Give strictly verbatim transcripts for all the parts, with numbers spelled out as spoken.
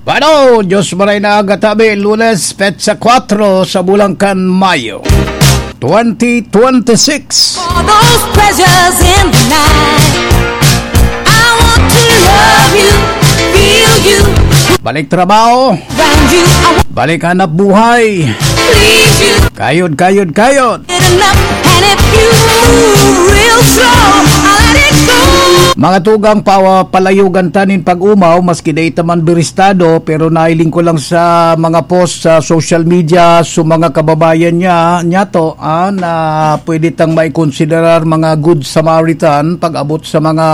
Bueno, Diyos maray na aga tabi, Lunes, petsa kwatro sa bulan kan Mayo, twenty twenty-six. For those pleasures in the night, I want to love you, feel you, Balik trabaho, around you, I want balik hanap buhay, please you. Kayod, kayod, kayod. Enough. And if you move real slow, I'll let it go. Mga tugang, pawa-, palayogan ta nin pag-umaw, maski dai ta man biristado, pero nahiling ko lang sa mga post sa social media, sa mga kababayan niya, niyato, ah, na pwede tang maikonsiderar mga good Samaritan pag-abot sa mga,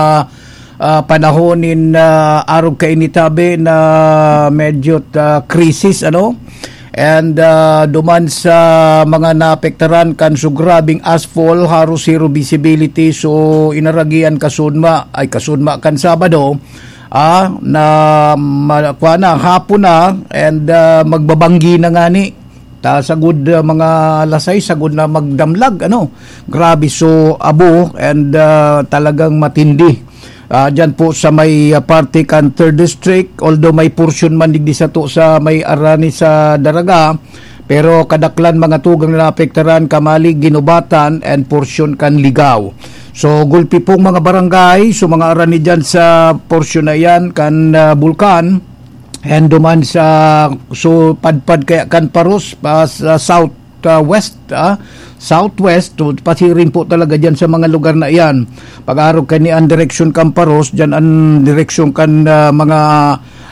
ah, panahon nin, ah, arog kainitabi na medyo, ah, krisis, ano? And, ah, duman sa mga naapektaran kan sugrabing ashfall, haros zero visibility. So, inaragian kasunma, ay, kasunma kan Sabado, ah, na ma-, kwa na, hapon na, and, ah, magbabanggi na ngani. Ta, sagod, ah, mga alas sais, sagod na magdamlag, ano? Grabe, so, abo, and, ah, talagang matindi. Ah, dyan po sa may, ah, parte kan Third District, although may portion man digdi sato sa may Arani sa Daraga, pero kadaklan mga tugang na naapektaran, Camalig, Guinobatan, and portion kan Ligao. So, gulpi pong mga barangay, so mga Arani dyan sa portion na iyan kan, ah, Bulkan, and duman sa, so, padpad kaya kan Paros, pa sa south, ah, west, ah, southwest, to, pasiring po talaga dyan sa mga lugar na iyan. Pag-arog kaini an direksyon kan Paros, dyan an direksyon kan, ah, mga,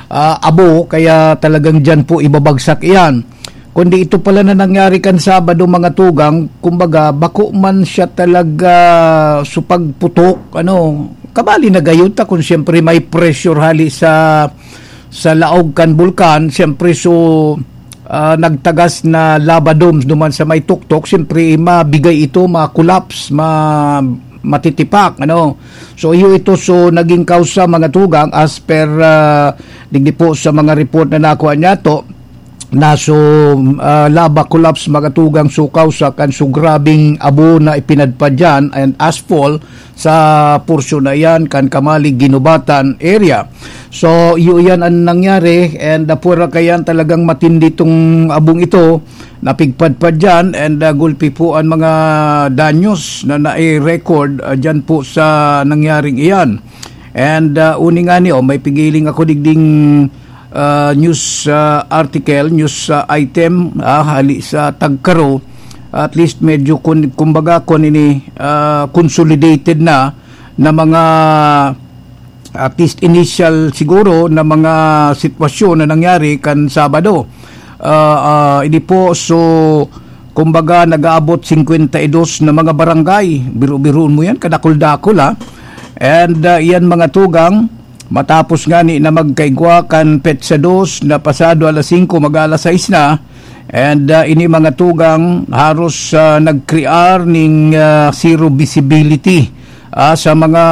ah, abo, kaya talagang dyan po ibabagsak iyan. Kundi ito pala na nangyari kan Sabado, mga tugang, kumbaga, bako man siya talaga so pagputok, ano, kabali na gayud ta kung siyempre may pressure hali sa, sa laog kan bulkan, siyempre, so, ah, nagtagas na lava domes duman sa may tuktok, siyempre, mabigay ito, ma-collapse, ma-, matitipak, ano. So, iyo ito, so, naging kausa, mga tugang, as per, ah, digdi po sa mga report na nakuha niyato, na so, ah, lava collapse, mga tugang, so kausa kan so grabing abo na ipinadpad dyan and ashfall sa porsyon na iyan kan Camalig, Guinobatan area. So, iyo iyan ang nangyari, and, ah, pwera kayan talagang matindi tong abong ito, napigpadpad dyan, and, ah, gulpi po ang mga danyos na nai-record, ah, dyan po sa nangyaring iyan. And, ah, uni nga ni, oh, may pigiling ako digding, ah, news, ah, article, news, ah, item, ah, hali sa Tagkaro. At least medyo kun-, kumbaga, kun ini, ah, consolidated na, na mga, at least initial siguro, na mga sitwasyon na nangyari kan Sabado. Ah, ah, ini po, so, kumbaga, nag-aabot singkwenta y dos na mga barangay. Biro-biroon mo yan, kadakul-dakul, ha? And, ah, iyan, mga tugang, matapos ngani na magkaigwa kan petsa dos na pasado alas singko, mag-aalas sais na, and, ah, ini, mga tugang, haros, ah, nagkrear ning, ah, zero visibility, ah, sa mga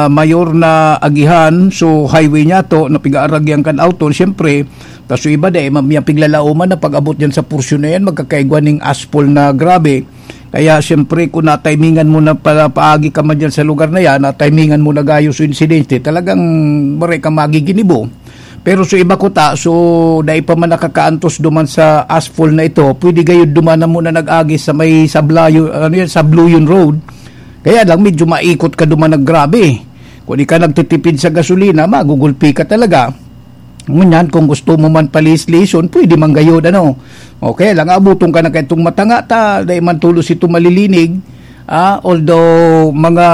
mayor na agihan. So, highway niyato na pigaaragyan kan auto, siyempre, tas yung iba, dai man yan piglalauman na pag-abot dyan sa porsyon na yan, magkakaigwa ning ashfall na grabe. Kaya, siyempre, kung natimingan mo na pala, paagi ka man dyan sa lugar na yan, natimingan mo na gayo sa insidente, talagang maray ka magiginibo. Pero sa iba kuta, so, dai pa man nakakaantos duman sa ashfall na ito, pwede gayud duman na muna nag-agi sa may Sablayo-, ano yan, Sabluyon Road. Kaya lang, medyo maikot ka duman na grabe. Kung di ka nagtitipid sa gasolina, magugulpi ka talaga. Ngunyan, kung gusto mo man paliis-liison, pwede man gayud, ano. Okay lang, abuton ka na kaitong matanga ta, dai man tulos ito malilinig. Ah, although, mga,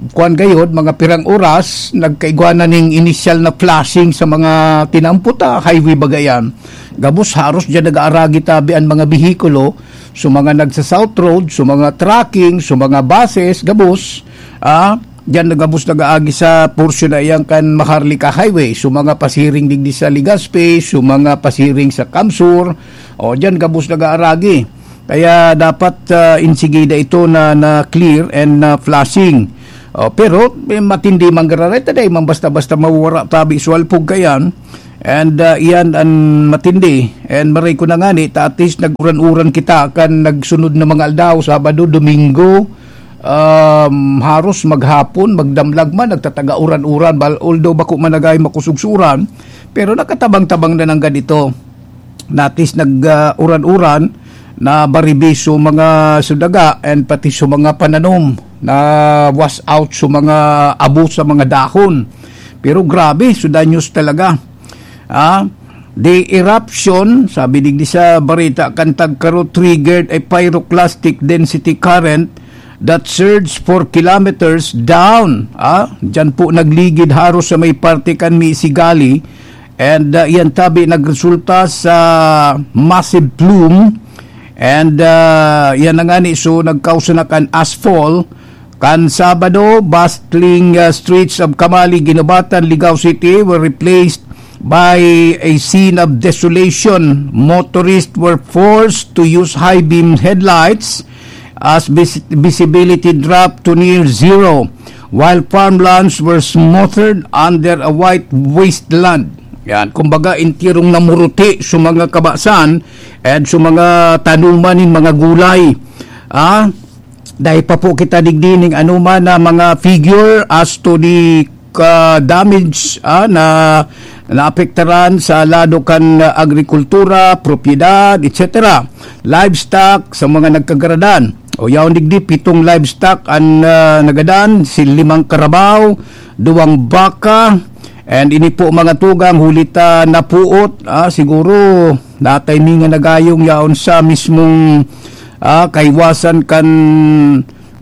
kuwan gayud, mga pirang oras, nagkaigwa na ning inisyal na flashing sa mga tinampot, ah, highway baga yan. Gabos haros dyan nag-aaragi tabi an mga behikulo, so mga nagsa-South Road, so mga trucking, so mga buses, gabos, ah, diyan na gabos nag-aagi sa porsyon na iyan kan Maharlika Highway. So, mga pasiring digdi sa Legazpi, so, mga pasiring sa Kamsur, o, diyan gabos nag-aaragi. Kaya dapat, ah, insigida ito na, na clear and na flashing. O, pero, eh, matindi man gararay, ta dai man basta-basta mawara tabi sa walpog kayan. And, ah, iyan an matindi. And maray ko na ngani, ta at least nag-uran-uran kita kan nagsunod na mga aldaw, Sabado, Domingo, Um, haros maghapon, magdamlag man, nagtataga uran-uran, bal-, although bako man nagay makusugsuran, pero nakatabang-tabang na nanggad ito. Natis nag, ah, uran-uran, na baribi so mga sudaga and pati so mga pananom na wash out so mga abo sa mga dahon. Pero grabe, so danyos talaga. Ah, the eruption, sabi digdi sa barita kan Tagkaro, triggered a pyroclastic density current that surged for kilometers down. Ah, diyan po nagligid haros sa may parte kan Misigali. And, ah, yan tabi nagresulta sa massive plume. And, ah, yan na nga ni, so nagkausa na kan ashfall. Kan Sabado, bustling, ah, streets of Camali, Guinobatan, Ligao City were replaced by a scene of desolation. Motorists were forced to use high beam headlights as vis-, visibility dropped to near zero, while farmlands were smothered under a white wasteland. Yan, kumbaga, intirong namuruti sa mga kabasan and sa mga tanuman nin mga gulay. Ah, dai pa po kita digdi ning anoman na mga figure as to the, ah, damage, ah, na naapektaran sa lado kan, ah, agrikultura, propiedad, et cetera. Livestock sa mga nagkagaradan. O yaon digdi, pitong livestock an, ah, nagadan, si limang karabaw, duwang baka, and ini po mga tugang huli ta napuot, ah, siguro natimingan na gayong yaon sa mismong, ah, kaiwasan kan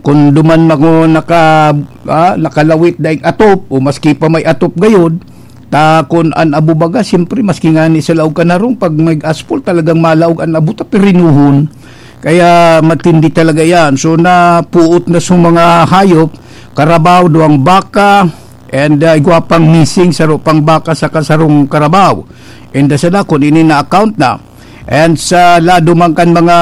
kun duman mako naka, ah, nakalawit daing atop o maski pa may atop gayod, ta kun an abo baga, siyempre, maski ngani sa laog kan harong, pag may aspol, talagang malaog an abo ta pirinuhon. Kaya matindi talaga yan. So, napuot na sa mga hayop, karabaw, duwang baka, and, ah, igwa pang missing, saro pang baka, saka sarong karabaw. And, ah, sana, kun ini na-account na. And sa lado man kan mga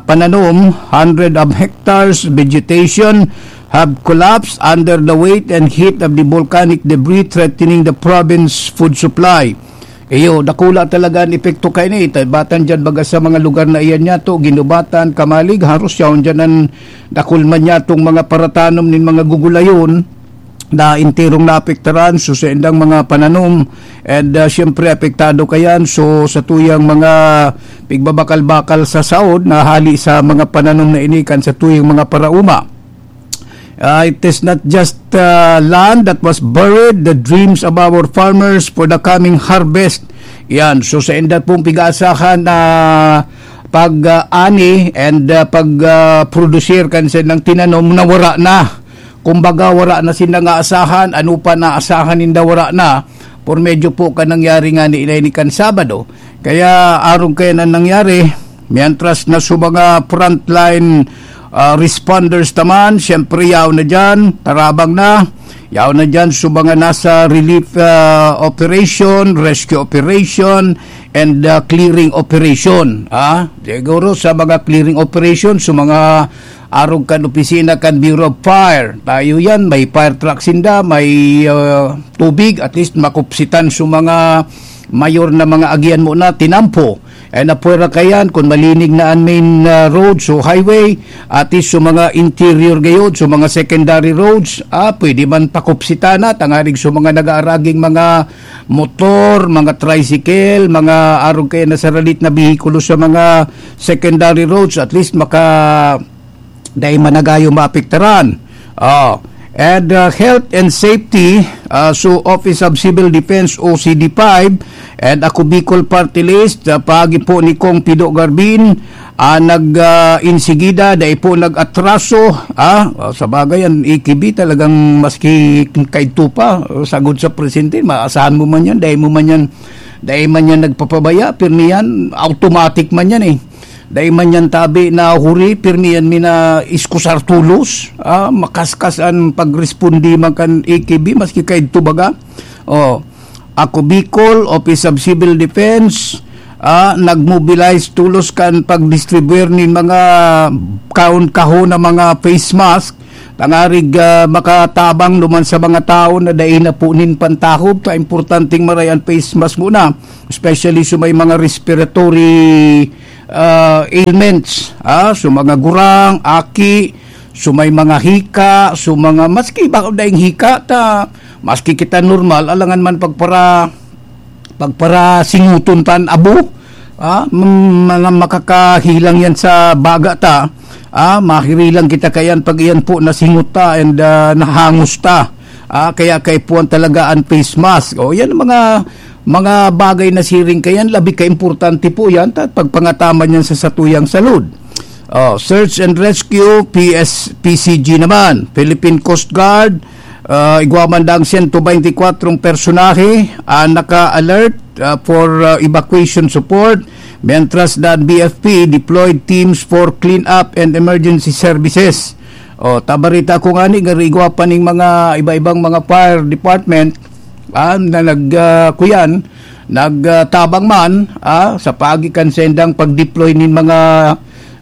pananom, hundred of hectares vegetation have collapsed under the weight and heat of the volcanic debris, threatening the province food supply. Iyo, dakula talaga an epekto kaini. Tabatan diyan baga sa mga lugar na iyan niyato, Guinobatan, Camalig, haros yaon diyan an dakul man niyatong mga paratanom nin mga gugulayon na enterong naapektaran, so, sa indang mga pananom, and, ah, siyempre, apektado kayan, so, sa tuyang mga pigbabakal-bakal sa saod na hali sa mga pananom na ini kan sa tuyang mga parauma. Ah, it is not just, ah, land that was buried, the dreams of our farmers for the coming harvest. Yan, so, sa inda pong pig-aasahan na pag, ah, ani and, ah, pag, ah, produsir kan sa ilang tinanom, nawara na. Kumbaga, wara na sinda nga asahan, ano pa na asahan ninda, wara na, por medyo po ka nangyari nga ni, ni kan Sabado. Kaya arog kaya na nangyari, mientras na sa mga frontline, ah, responders naman, siyempre, yaw na dyan, tarabang na, yaw na dyan sa mga nasa relief, ah, operation, rescue operation, and, ah, clearing operation. Ah, siguro sa mga clearing operation, sa mga arog kan opisina kan Bureau of Fire. Tayo yan, may fire truck sinda, may, ah, tubig, at least makupsitan sa mga mayor na mga agian mo na tinampo. Eh, napwera kayan, kung malinig na ang main, ah, road, so highway, at least sa mga interior gayod, sa mga secondary roads, ah, pwede man pakupsitan na, tangarig sa mga nag-aaraging mga motor, mga tricycle, mga arog kaya na saralit na behikulo sa mga secondary roads, at least maka dai managayo maapektaran. Oh. And, uh, health and safety, uh, so Office of Civil Defense, O C D five, and Ako Bicol Party List, uh, paagi po ni Kong Pido Garbin, ah, nag, ah, insigida, dai po nag-atraso, ah, oh, sa bagay, ang A K B talagang maski kaidto pa, oh, sagod sa presidente, maasahan mo man yan, dai mo man yan, dai man yan nagpapabaya, pirmi yan, automatic man yan eh. Dai man yan tabi na huri, pirmi yan mina iskusar tulos, ah, makaskas ang pagresponde man kan A K B, maski kaidto baga. Oh, Ako Bicol, Office of Civil Defense, ah, nag-mobilize tulos kan pag-distribuer nin mga kahon-kahon na mga face mask, tangarig, ah, makatabang duman sa mga tawo na dai na po nin pantahob, ta importanteng maray an face mask muna, especially sa may mga respiratory, ah, ailments, ah, sa mga gurang, aki, So, may mga hika, so, mga, maski ba daing hika ta, maski kita normal, alangan man pagpara-, pagparasinguton tan abo, ah, m-, mga makakahilang yan sa baga ta, ah, mahirilang kita kayan pag iyan po nasingot ta and, ah, nahangos ta. Ah, kaya kaipuhan talaga ang face mask. O, yan ang mga, mga bagay na siring kayan, labi ka importante po yan, ta-, pagpangataman yan sa satuyang salud. Oh, search and rescue, P S, P C G naman, Philippine Coast Guard, ah, igwa man daang siyento baynte kwatro personahe, ah, naka-alert, ah, for, ah, evacuation support, mientras the B F P deployed teams for cleanup and emergency services. Oh, tabarita ko nga ni, garigwa pa ning mga iba-ibang mga fire department, ah, na nag, ah, kuyan, nagtabang man, ah, sa paagi kan sendang pag-deploy nin mga,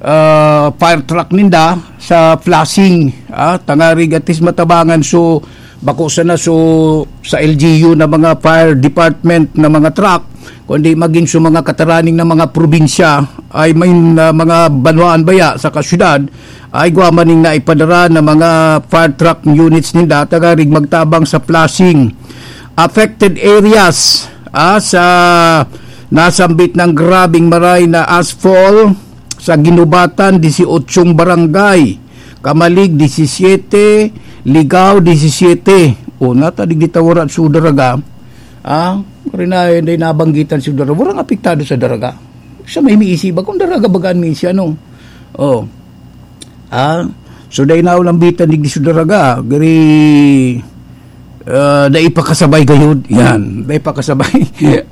ah, fire truck ninda sa flushing, ah, tangarig at least matabangan. So, bako sana so sa L G U na mga fire department na mga truck, kundi magin so mga kataraning na mga probinsya ay may, ah, mga banwaan baya sa kasyudad, ay igwa man ning naipadara na mga fire truck units ninda, tangarig magtabang sa flushing affected areas, ah, sa nasambit ng grabing maray na ashfall sa Ginubatan, dieciocho barangay, Camalig, disisiete, Ligao, disisiete. O, natadig di tawara sa Daraga. Ah, rin na, hindi nabanggitan sa Daraga. Walang apektado sa Daraga. Sa may miisiba, kung Daraga bagaan mi siya, no? Oh. Ah, so dai na ulambitan digdi sa Daraga, gari, ah, dai pa kasabay gayud. Yan, dai pa kasabay.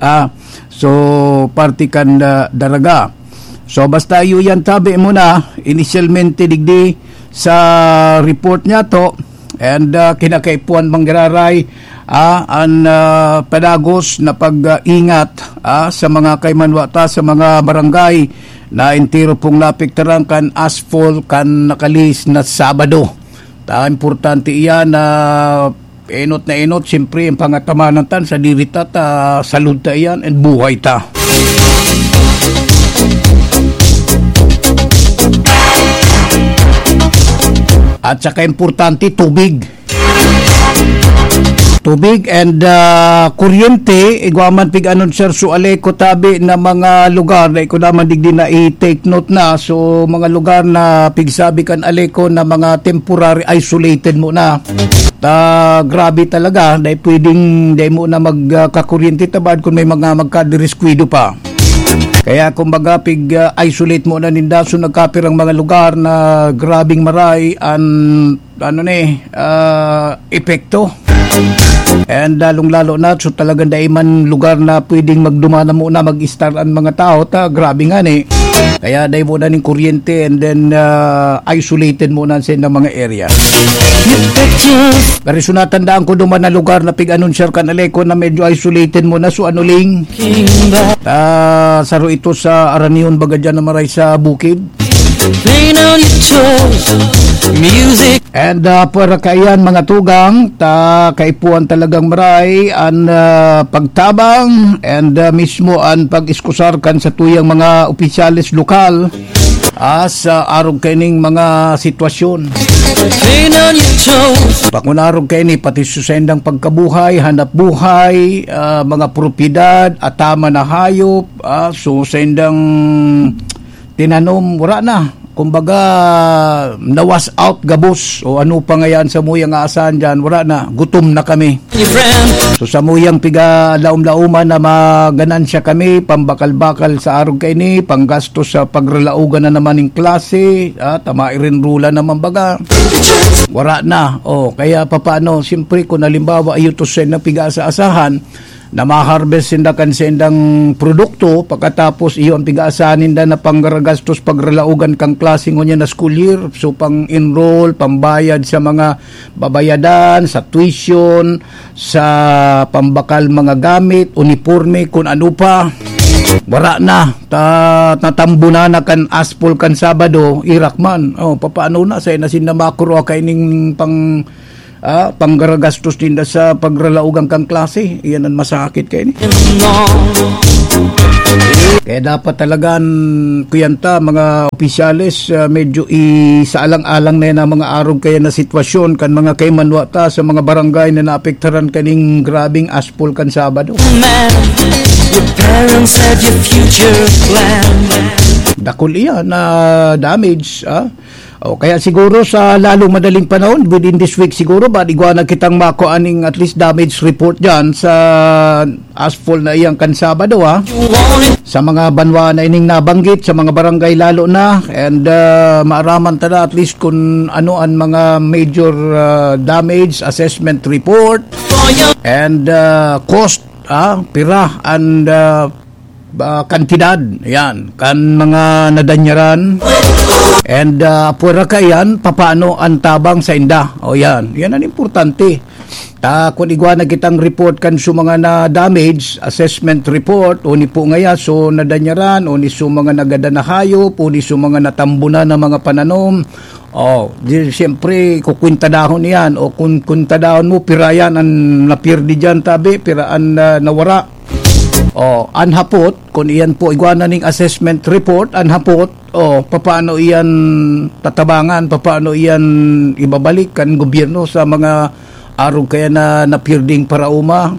Ah, so parte kan, ah, Daraga. So basta iyo yan tabi mo na, inisyalmente digdi sa report niya to, and, ah, kinakaipuhan manggiraray, ah, an, ah, padagos na pag-ingat, ah, sa mga kaimanwa ta, sa mga barangay na entero pong napiktaran kan ashfall kan nakalihis na Sabado. Ta, importante iyan na enot na enot, siyempre, ang pangatamanan tan sa diri ta, ta salud ta iyan and buhay ta. At saka importante, tubig. Tubig and, ah, kuryente, igwa man pig-anunsiyar so Aleco tabi na mga lugar, dai ko naman digdi na i-take note na. So, mga lugar na pigsabi kan Aleco na mga temporary isolated muna. Ta, grabe talaga, dai pwedeng, dai mo na mag, ah, kakuryente tabad kung may mga magkadiriskwado pa. Kaya kumbaga, pig, ah, isolate muna ninda. So, nagkapirang mga lugar na grabing maray an ano ni, ah, epekto. And lalong-lalo na, so talagang dai man lugar na pwedeng magdumana muna, mag-start ang mga tao, ta grabe nga ni. Kaya dai muna ning kuryente and then, ah, isolated muna sa mga area. Pero so natandaan ko duman na lugar na pig-anunsiyar kan Aleco na medyo isolated muna, so ano ling, ah, saro ito sa Aranion, baga dyan na maray sa bukid. Playing on your toes, music. And, ah, para kaiyan, mga tugang, ta kaipuhan talagang maray an, ah, pagtabang and, ah, mismo an pag-iskusar kan satuyang mga opisyales lokal, ah, sa arog kaining mga sitwasyon. Playing on your toes. Pakon arog kaini, pati sa sendang pagkabuhay, hanap buhay, ah, mga propiedad, ataman na hayop, ah, so sendang tinanom, wala na. Kumbaga, na-wash out gabos. O ano pa ngayon sa muyang aasahan dyan, wala na. Gutom na kami. Your friend. So, sa muyang piga-laom-laoman na maganansya kami, pambakal-bakal sa arog kaini, panggastos sa pagralaogan na naman ng klase, ah, tama irinrula naman baga. Wala na. O, kaya papaano, siyempre, kung halimbawa, ayutusin na piga-asa-asahan, na ma-harvest sinda kan sendang produkto, pagkatapos iyo ang pig-aasahan ninda na panggaragastos pagralaogan kang klase ngunyan na school year. So, pang-enroll, pambayad sa mga babayadan, sa tuition, sa pambakal mga gamit, uniporme, kun ano pa. Wala na. Ta-, natambunan na kan aspol kan Sabado, irak man. O, papaano na? Sa inasin na makuro kaining pang ah, panggaragastos ninda sa pagralaogan kan klase. Iyan ang masakit kaini. Kaya dapat talagan, kuyan ta, mga opisyales, ah, medyo isaalang-alang na yan ang mga arog kaya na sitwasyon kan mga kaimanwa ta sa mga barangay na naapektaran kaning grabing aspol kan Sabado. Man, your parents have your future plan. Dakul iyan na damage, ah. O kaya siguro sa lalong madaling panahon, within this week siguro, ba, igwa na kitang makuha aning at least damage report dyan sa aspol na iyang kan Sabado, ha? Sa mga banwa na ining nabanggit, sa mga barangay lalo na, and, ah, maaraman ta na at least kung ano ang mga major, ah, damage assessment report and, ah, cost, ah, pira and, ah, ah, kantidad, yan, kan mga nadanyaran. And, ah, pwera ka yan, papaano ang tabang sa inda? O yan, yan ang importante. Ta, kung igwa na kitang report kan su mga na-damage, assessment report, o ni po ngaya, so nadanyaran, o ni su mga nagadan na hayop, o ni su mga natambunan na mga pananom. O, di, siyempre, kukwintadahon yan. O kung kwintadahon mo, pira yan ang napirdi dyan, tabi, pira ang, ah, nawara. O, an hapot, kung iyan po igwa na ning assessment report, an hapot, o, papaano iyan tatabangan, papaano iyan ibabalik kan gobyerno sa mga arog kaya na napirding paraoma,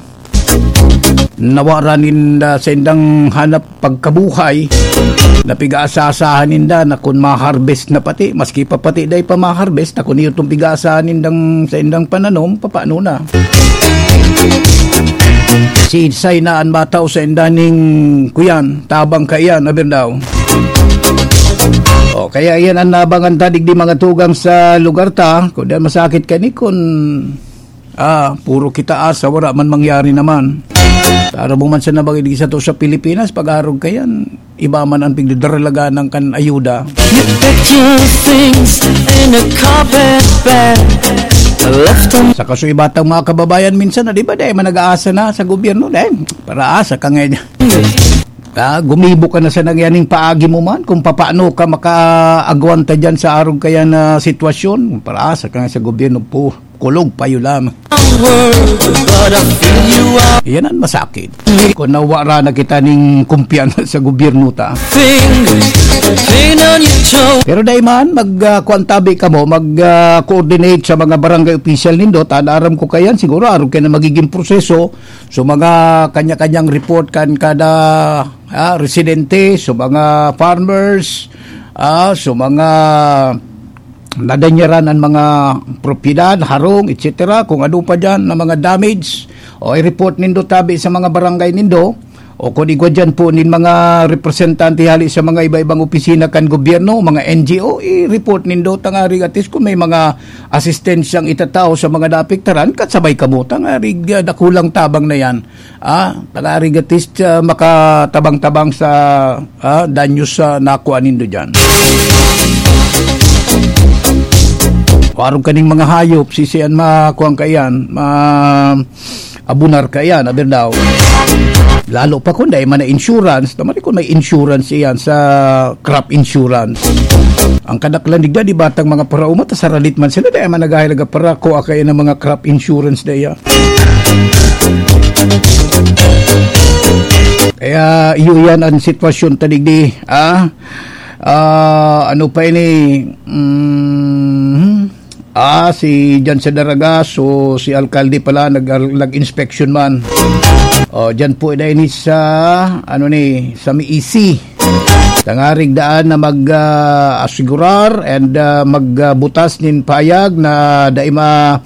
nawara ninda sa indang hanap pagkabuhay, na pig-aasahan ninda na kun ma-harvest na pati, maski pa pati dai pa ma-harvest, na kun iyo tong pig-aasahan nindang sa indang pananom, papaano na? Siisay na an matao sa inda ning kuyan, tabang kaiyan, aber daw. O, kaya iyan an nabangan ta digdi mga tugang sa lugar ta. Kun diyan masakit kani kun, ah, puro kita asa, wala man mangyari naman. Taro mo man sa nabangin sa to sa Pilipinas, pag-arog kaiyan, iba man ang pigdadaralaganan kan ayuda. You packed your things in a carpet bag. Left them. Sa kaso iba tang mga kababayan minsan, na, di ba, dahil man nag-aasa na sa gobyerno, dahil para asa ka ngayon. Ah, gumibo ka na sa nangyaning paagi mo man kung papaano ka makaagwanta dyan sa arog kaya na sitwasyon. Para asa ka nga sa gobyerno po, kulog payo lamang. World, but I feel you are. Yan ang masakit. Kung nawara na kita ning kumpiyansa sa gobyerno ta. Fingers, pain on your toe. Pero dai man, mag, ah, kuwan tabi kamo, mag, ah, coordinate sa mga barangay official nindo, ta aram ko kayan, siguro arog kaya na magiging proseso. So, mga kanya-kanyang report kan kada, ah, residente, so mga farmers, ah, so mga nadanyaran ang mga propiedad, harong, et cetera. Kung ano pa dyan na mga damage, o i-report nindo tabi sa mga barangay nindo, o kung igwa dyan po nin mga representante hali sa mga iba-ibang opisina kan gobyerno, mga N G O, i-report nindo, tangarig at least kung may mga asistensyang itatao sa mga naapektaran, kasabay kamo, tangarig, ah, dakulang tabang na yan. Ah, tangarig at least, ah, makatabang-tabang sa, ah, danyos sa nakuha nindo dyan. Kung arog kaning mga hayop, sisian makuha kaiyan, ma-, abunar kaiyan, aber daw. Lalo pa kung dai man na insurance, tamari kung may insurance iyan sa crop insurance. Ang kadaklan digda, di batang mga parauma, ta saralit man sila, dai man nagahalaga para kuha kaiyan ng mga crop insurance daya. Kaya iyo yan ang sitwasyon ta digdi, ah? Ah, ano pa ini? Mm, ah, si Jan sa Daraga, so si alkalde pala nag, nag-inspection man. O, dyan po na ini sa, ano ni, sa Miisi. Tangarig daan na mag, ah, asigurar and, ah, magbutas nin payag na dai ma-,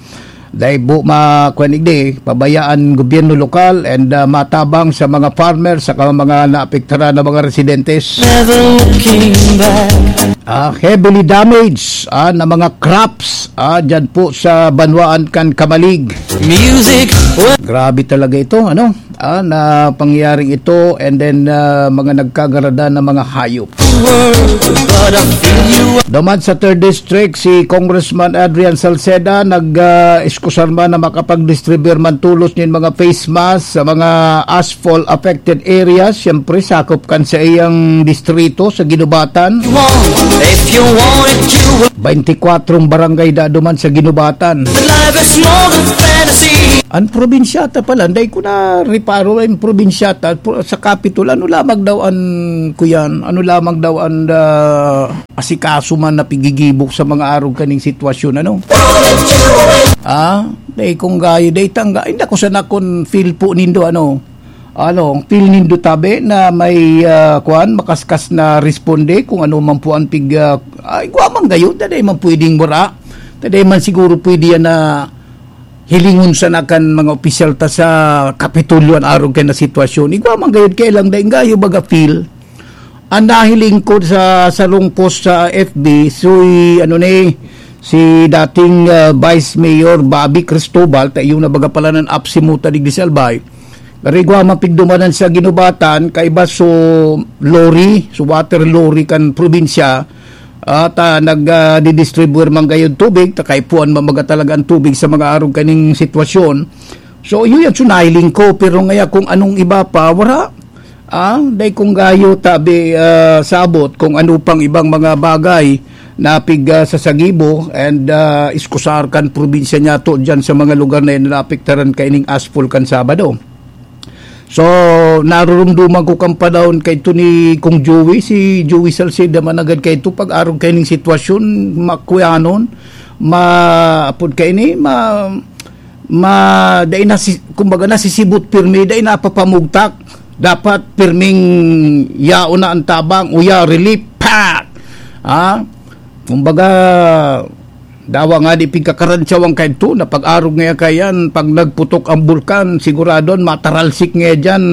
dai bu-, ma-, kuwan igdi, pabayaan gobyerno lokal and, ah, matabang sa mga farmer saka mga naapektaran na mga residentes. Never looking back. Ah, heavily damaged, ah, na mga crops, ah, dyan po sa banwaan kan Camalig. Music. Grabe talaga ito, ano? Ah, na pangyayaring ito, and then, ah, mga nagkagarada na mga hayop. Duman sa third District, si Congressman Adrian Salceda nag, ah, iskusar man na makapag-distribute man tolos nin mga face mask sa mga asphalt affected areas. Siyempre, sakop kan sa iyang distrito sa Guinobatan. If you want it, you will. Twenty-kwatro barangay da duman sa Guinobatan. Life is more than fantasy. Ang probinsyata pala, dai ko na reparo ang probinsyata, pro-, sa Capitol, ano lamang daw ang, kuyan, ano lamang daw ang, ah, asikaso man na pigigibok sa mga arog kaning sitwasyon, ano? Ah, dai kung gayo, dai tangga, hindi ako sana kun feel po nindo, ano? Ano, feel nindo tabi na may, ah, kuwan, makaskas na responde kung ano man po ang pig-, ah, ay, igwa man gayo, dai man pwedeng wara. Dai man siguro pwede yan na hilingon sana kan mga opisyal ta sa Kapitolyo an arog kay na sitwasyon. Igwa man gayud kay lang daing gayo baga feel. Ang nahiling ko sa sarong post sa F B, soy, ano ni, si dating, ah, Vice Mayor Bobby Cristobal, ta iyo na baga pala nan apsimuta digdi sa Albay. Pero igwa man pigdumanan sa Guinobatan, kaiba so lorry, so water lorry kan probinsya, at, ah, nag, ah, didistribute man gayud tubig, ta kaipuhan man baga talaga ang tubig sa mga arog kaning sitwasyon. So, iyo yan, so nahiling ko, pero ngaya kung anong iba pa, wala. Ah, dai kung gayo tabi, ah, sabot kung ano pang ibang mga bagay na pig, ah, sasagibo and, ah, iskusar kan probinsya niyato dyan sa mga lugar na yan na naapektaran kaining asphalt kan Sabado. So, narurumduman ko kan panahon kay ito ni Kong Joey, si Joey Salceda, managad kay ito, pag-arog kay ning sitwasyon, makuyanon, ma-, apod kay ni, ma-, ma-, dai na si-, kumbaga, nasisibot pirmi, dai napapamugtak. Dapat pirming yaon na ang tabang, uya, relief, pak! Ah? Kumbaga, dawa nga di pigkakarantsawan kaidto, na pag-arog nga kayan, pag nagputok ang bulkan, siguradon mataralsik nga diyan,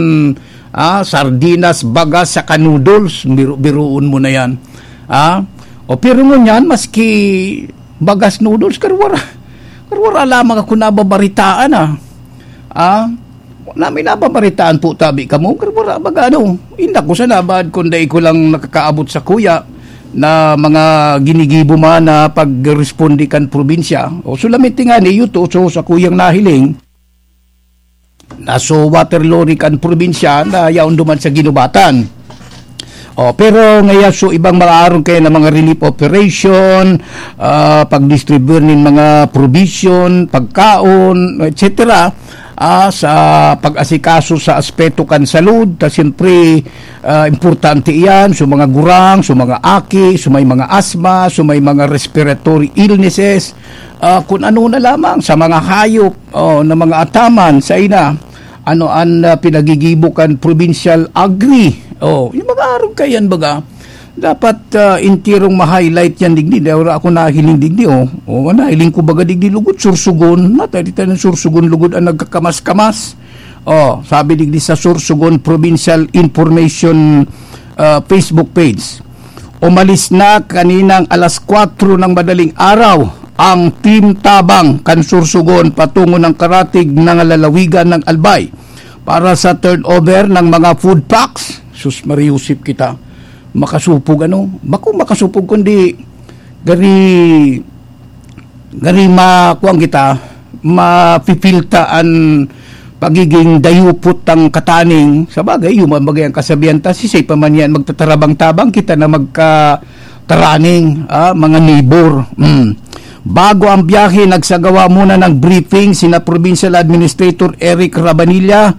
ah, sardinas, bagas, saka noodles, biro-biroon mo na yan. Ah? O, pero ngunyan, maski bagas, noodles, karwara, karwara lamang ako nababaritaan, ah. Ah? Wala may nababaritaan po, tabi kamo, karwara, baga, ano, inda ko sa nabad, kung dai ko lang nakakaabot sa kuya, na mga ginigibo man na pagresponde kan probinsya. O, solamente nga ni, yuto, so, sa kuyang nahiling, naso water lorry kan probinsya na yaon duman sa Guinobatan. O, pero ngaya so ibang mga arog kaya na mga relief operation, ah, pag-distribute nin mga provision, pagkaon, et cetera, ah, sa pag-asikaso sa aspeto kan salud, ta siyempre, ah, importante iyan, so mga gurang, so mga aki, so may mga asma, so may mga respiratory illnesses, ah, kung ano na lamang, sa mga hayop, o, na mga ataman, sa ina, ano an, ah, pinagigibo kan provincial agri. O, yung mga arog kayan baga, dapat, ah, intirong ma-highlight yan digdi. Dahil wala ako nahiling digdi, o. O, nahiling ko baga digdi lugod, Sorsogon. Natay di tayo ng Sorsogon, lugod ang nagkakamas-kamas. O, sabi digdi sa Sorsogon Provincial Information, ah, Facebook page. Umalis na kaninang alas kwatro ng madaling araw ang Team Tabang kan Sorsogon patungo ng Karatig na lalawigan ng Albay para sa turnover ng mga food packs. Sus, mariusip kita. Makasupog, ano? Bako makasupog, kundi gari, gari ma-, kuwan kita, mapipilta an pagiging dayupot tang kataning. Sa bagay, yun man bagay ang kasabihan ta, sisay pa man yan magtatarabang-tabang, kita na magkataraning, ah, mga neighbor. Mm. Bago ang biyahe, nagsagawa muna ng briefing sina Provincial Administrator Eric Rabanilla,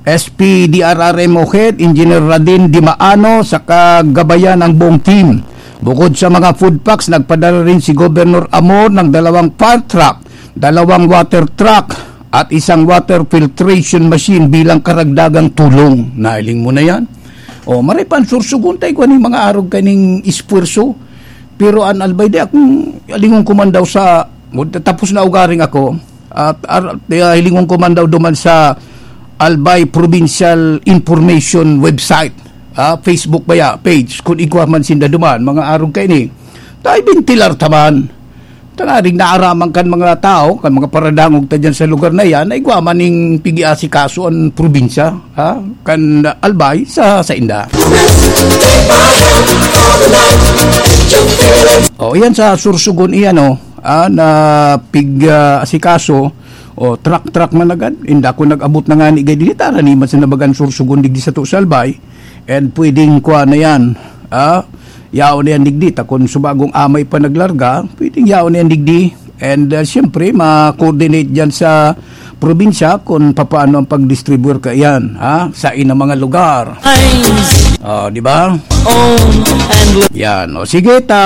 S P D R R M O Head, Engineer Radin Dimaano, sa kagabayan ng buong team. Bukod sa mga food packs, nagpadala rin si Governor Amor ng dalawang fire truck, dalawang water truck, at isang water filtration machine bilang karagdagang tulong. Nahiling mo na yan? O, maray pa ang Sorsogon, tayo kung ano yung mga arog kaning espuwerso. Pero an Albay, di akong, alingon ko man daw sa, tapos na ugaring ako, at ar-, di, ah, hilingon ko man daw duman sa Albay Provincial Information Website, ah, Facebook ba ya, page, kung igwa man sinda duman, mga arog kaini. Tayo, bentilar taman. Tanganing naaraman kan mga tao, kan mga paradangog ta dyan sa lugar na yan, na igwa man ning pigiasikaso an probinsya, ha? Kan Albay sa, sa inda. O, yan sa Sorsogon iyan, oh. Ah, na pig, ah, asikaso, o truck-truck man agad. Inda ko nag-abot na nga ni Gay, dili ta raniman sa nabagan Sorsogon digdi sa Tusalbay. And pwedeng kuha na yan. Ah, yaon na yan digdi. Ta kung subagong amay pa naglarga, pwedeng yaon na yan digdi. And, ah, siyempre, ma-coordinate dyan sa probinsya kung papaano ang pag-distribute ka yan, ha? Sa inang mga lugar. Oh, di ba? Yan. O, sige, ta-